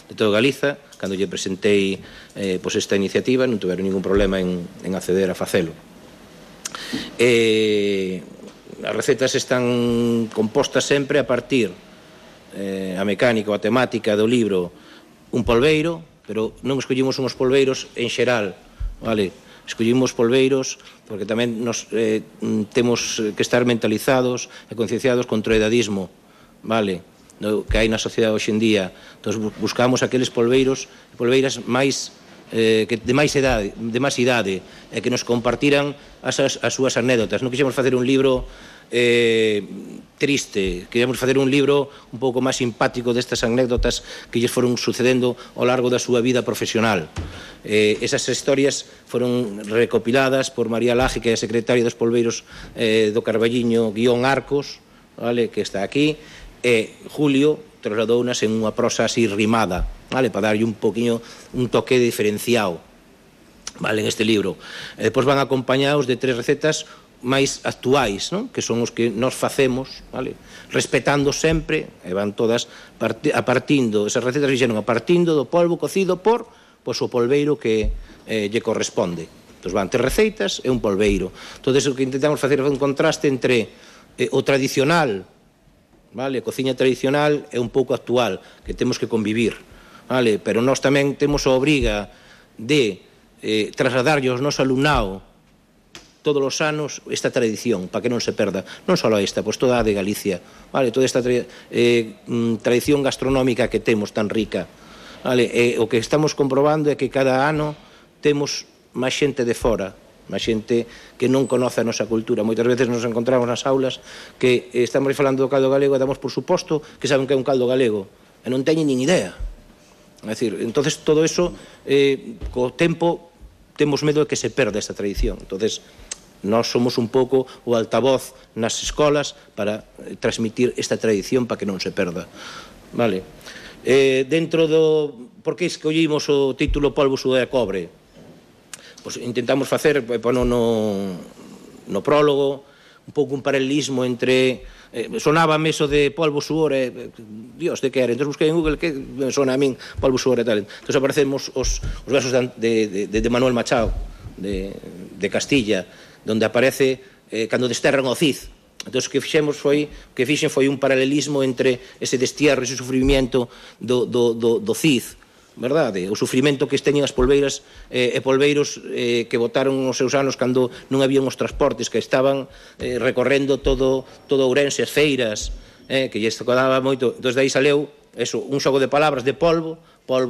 de toda Galiza. Cando lle presentei pois esta iniciativa, non tiveron ningún problema en acceder a facelo. As recetas están compostas sempre a partir a mecánica ou a temática do libro un polbeiro, pero non escollimos uns polbeiros en xeral, vale? Escollimos polbeiros porque tamén nos temos que estar mentalizados e concienciados contra o edadismo, vale? Que hai na sociedade hoxe en día. Entón buscamos aqueles polbeiros e polbeiras máis de máis idade e que nos compartiran as súas anécdotas. Non quixemos facer un libro triste, queríamos facer un libro un pouco máis simpático destas anécdotas que lles foron sucedendo ao largo da súa vida profesional. Esas historias foron recopiladas por María Laje, que é a secretaria dos polbeiros do Carballiño _Arcos, vale, que está aquí, e Julio trasladounas en unha prosa así rimada, vale, para darlle un poquinho un toque diferenciado, vale, en este libro. E depois van acompañados de 3 recetas máis actuais, non? Que son os que nos facemos, vale? Respetando sempre, e van todas partindo, esas recetas fixeron a partindo do polvo cocido por pois o polbeiro que lle corresponde. Entón van 3 receitas e un polbeiro. Todo iso que intentamos facer é un contraste entre o tradicional, vale? A cociña tradicional é un pouco actual, que temos que convivir, vale? Pero nós tamén temos a obriga de trasladarlle aos noso alumnado todos os anos esta tradición, para que non se perda, non só esta, pois toda a de Galicia, vale, toda esta tradición gastronómica que temos tan rica, vale, o que estamos comprobando é que cada ano temos máis xente de fora, máis xente que non conoce a nosa cultura. Moitas veces nos encontramos nas aulas que estamos falando do caldo galego e damos por suposto que saben que é un caldo galego, e non teñen nin idea. É dicir, entonces todo eso, co tempo, temos medo de que se perda esta tradición. Entonces, nós somos un pouco o altavoz nas escolas para transmitir esta tradición para que non se perda, vale? Dentro do... Por que escollimos o título Polvo, Sudor e Cobre? Pois intentamos facer, no prólogo, un pouco un paralelismo entre... sonábame eso de polvo, suor e... Dios, de que era? Entón busquei en Google que me sona a min polvo, suor e tal. Entón aparecemos os versos de Manuel Machado, de Castilla, donde aparece cando desterran o Cid. Entón, o que fixen foi un paralelismo entre ese destierro, ese sufrimiento do Cid, verdade? O sufrimento que teñen as polbeiras e polbeiros que botaron os seus anos cando non habían os transportes, que estaban recorrendo todo Ourense, as feiras, que lles tocaba moito. Entón, dai saleu eso, un xogo de palabras de polvo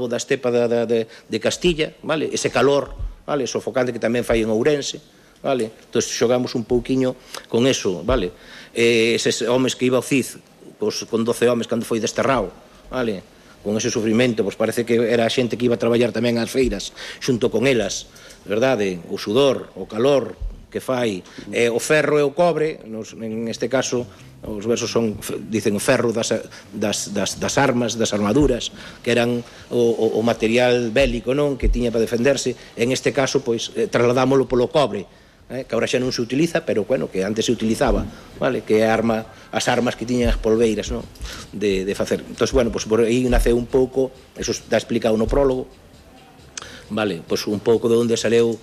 da estepa de Castilla, vale? Ese calor, vale? Sofocante que tamén fai en Ourense, vale? Entón, xogamos un pouquiño con eso, vale? Eses homes que iba o Cid, pois, con 12 homes cando foi desterrado, vale? Con ese sufrimento, pois parece que era a xente que iba a traballar tamén ás feiras xunto con elas, verdade? O sudor, o calor que fai, o ferro e o cobre, en este caso os versos dicen o ferro das armas, das armaduras, que eran o material bélico, non? Que tiña para defenderse. En este caso, pois, trasladámoslo polo cobre, que agora xa non se utiliza, pero, bueno, que antes se utilizaba, vale? Que é as armas que tiñan as polbeiras, non? De facer. Entón, bueno, pois por aí naceu un pouco, eso está explicado no prólogo, vale? Pois un pouco de onde saleu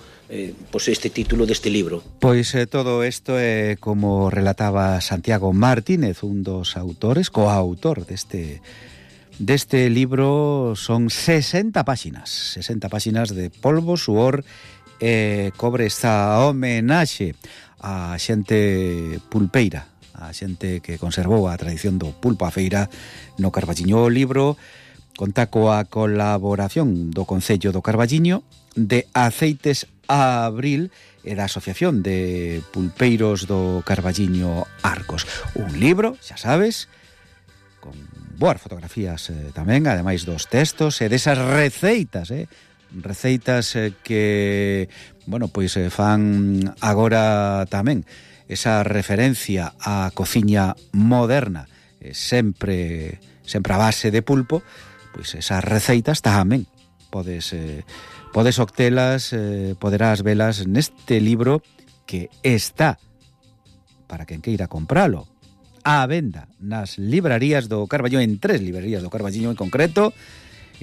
pois este título deste libro. Pois todo isto é como relataba Santiago Martínez, un dos autores, coautor deste libro. Son 60 páxinas de polvo, suor e cobre. Esta homenaxe a xente pulpeira, a xente que conservou a tradición do pulpo a feira no Carballiño. O libro conta coa colaboración do Concello do Carballiño, de Aceites Abril e da Asociación de Pulpeiros do Carballiño Arcos. Un libro, xa sabes, con boas fotografías tamén, ademais dos textos e desas receitas, receitas que, bueno, pois fan agora tamén esa referencia á cociña moderna, sempre a base de pulpo. Pois esas receitas tamén podes obtelas, poderás velas neste libro que está, para quen queira compralo, á venda nas librarías do Carballiño, en 3 librarías do Carballiño en concreto,